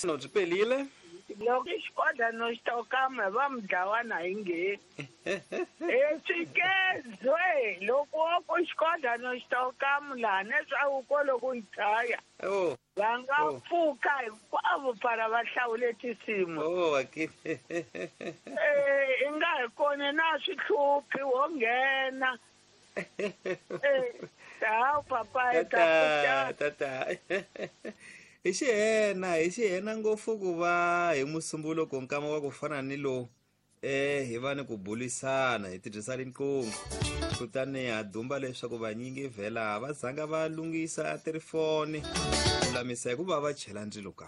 No byi pelile. Loko xikodla no xi tokama va mi dlawana hi ngheni. Eswikezwe loko wo ku xikodla no xi tokamu laha leswaku ko loko yi chaya. Oh. Va nga pfuka hinkwavo para va hlawule tinsimu. Oh, akini. I nga hi kona na swi hluphi wo nghena. Hawu papa tata tata. Hi xihena ngopfu ku va hi musumbuluko nkama wa ku fana ni lowu hi va ni ku bulisana hi tirhisa riqingho kutani ha dumba leswaku vanyingi vhela va zanga va lunghisa tirifoni lulamisa hikuva va chela ndzilo ka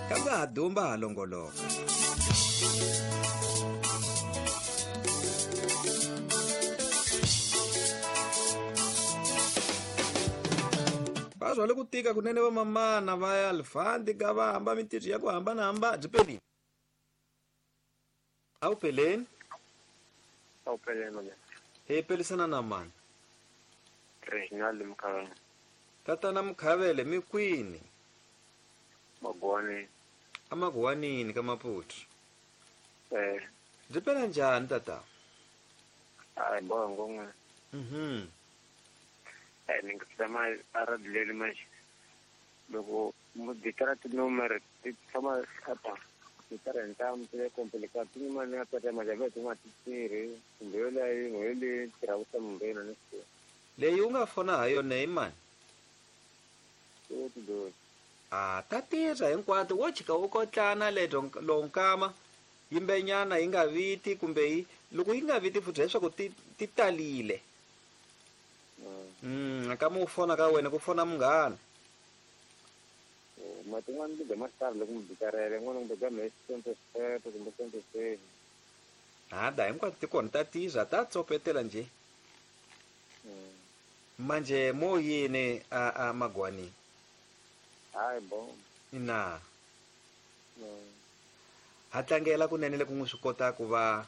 kambe ha dumba ha longoloka. Va rhwale ku tika kunene vamamana va ya lifandi ka va hamba mintirho ya ku hambanahambana. Byi pelini? A wu peleni? A wu peleni mani. Hi pelisana na mani? Reginald Mukhavele. Tatana Mukhavele mi kwini? Maguwanini. Amaguwanini ka Maputo. Eh. Byi pela njhani tata? Hayi bongo n'we. Ni nga tshama a radileli manje. Loko muditara tinumere ti tshama apa titara ntamu ti le complicated tin'wana ya tata majambe tin'wana ti tirhi kumbe yo leyi yin'we yo leyi tirhaka swa mumbeni ni swi. Leyi u nga fona ha yona i mani? Ti A ta tirha hinkwato wo chika u kotlana leto lonkama yimbenyana yi nga viti kumbe yi loko yi nga viti futhi leswaku ti talile. Kama u fona ka wena ku fona munghana. Matin'wana ti dya mastar loko mi bikarele n'wana kumbe dya mhesi 27 kumbe 27. Hada hinkwato ti kona ta tirha ta tsopetela nje. Manje mo yini a Magwani? Hayi bo. Ina. Ha tlangela kunene loko n'wi swi kota ku va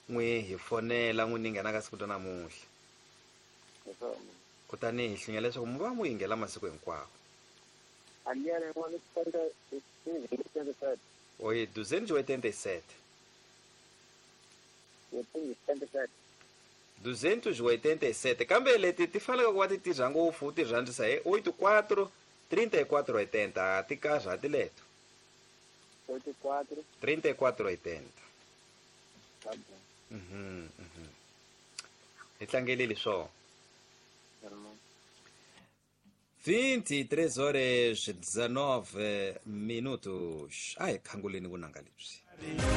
n'wi hi fonela n'wi ni nghena ka siku ra namuntlha. Kutani hi hlinya leswaku mi va n'wi yingela masiku hinkwawo. Oi, 287. 287 kambe leti ti faneleke ku va ti tirha ngopfu ti rhandzisa hi 84 34 80 ti karhati leto. 84 34 80. Hi tlangeleli swona. 23 horas 19 minutos. Ai, khanguleni vunanga lebyi.